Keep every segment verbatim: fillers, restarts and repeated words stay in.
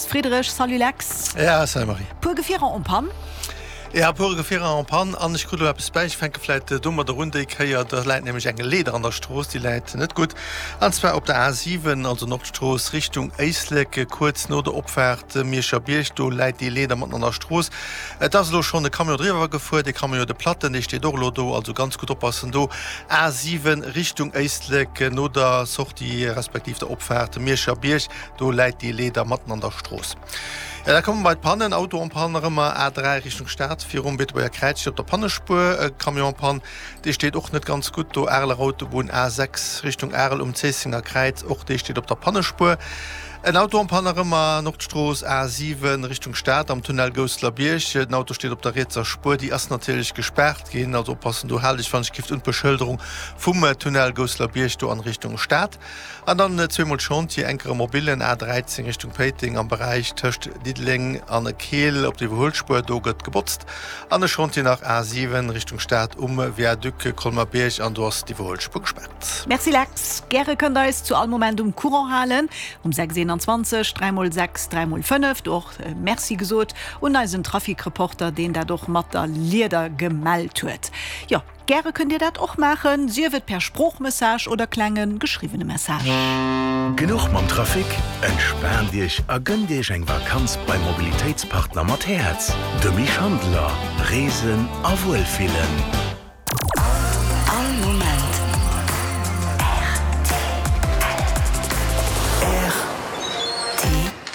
Friedrich. Salut Lex. Ja, salut Marie. Puer Gefierer en panne. Ja, puer Gefierer en panne an ech krut elo eppes bäi. Ech fänke vläit domadder un déi Kéier. Da läit nämlech eng Leeder an der Strooss, déi läit net gutt. An zwar op der A siwen, also Nordstrooss Richtung Éislek, kuerz no der Opfaart Mierscher Bierg. Do läit déi Leeder matten an der Strooss. Et ass elo schonn e Camion driwwer gefuer. Dee Camion huet e Platten, dee steet och elo do. Also ganz gutt oppassen do. A siwen Richtung Éislek, no der Sortie respektiv der Opfaart Mierscher Bierg, do läit déi Leeder matten an der Strooss. Jo, da komme mer bei d'Pannen. Auto en panne nach ëmmer, A dräi Richtung Stad virum Beetebuerger Kräiz steet op der Pannespuer e Camion en panne. Dee steet och net ganz gutt do. Areler Autobunn, A sechs Richtung Arel um Zéissenger Kräiz, och dee steet op der Pannespuer. En Auto en panne nach ëmmer, Nordstrooss, A siwen Richtung Stad am Tunnel Gousselerbierg. Den Auto steet op der rietser Spuer, déi ass natierlech gespaart ginn. Also oppassen do, haalt iech wann ech gift un d'Beschëlderung vum Tunnel Gousselerbierg do an Richtung Stad. An dann zweemol Chantier, enker e mobillen, A dräizéng Richtung Péiteng am Beräich tëscht Diddeleng an Keel op der Iwwerhuelspuer, do gëtt gebotzt. An e Chantier nach, A siwen Richtung Stad um Viaduc Colmer-Bierg an do ass d'Iwwerhuelspuer gespaart. Merci Lex. Gäre kënnt der eis zu all Moment um Courant halen um sechs eenanzwanzeg dräi mol sechs dräi mol fënnef. Do och Merci gesot un eisen Trafikreporter, deen dat och mat der Lieder gemellt huet. Jo. Gäre kënnt Dir dat och maachen, sief et per Sproochmessage oder klenge geschriwwene Message. Genuch mam Trafic? Entspaant Iech a gënnt Iech eng Vakanz beim Mobilitéitspartner mat Häerz, dem Misch Handler. Reesen a Wuelfillen. All Moment R T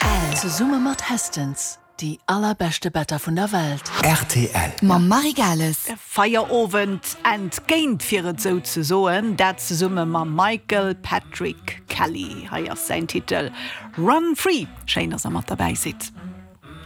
L. Zesumme mat Hästens. Déi allerbeschte Better vun der Welt. Rtl. Mam Marie Gales. Feierowend entgéint, fir et sou ze soen, dat zesumme mam Michael Patrick Kelly. Hei ass säin Titel Run Free. Schéin, dass der mat derbäi sidd.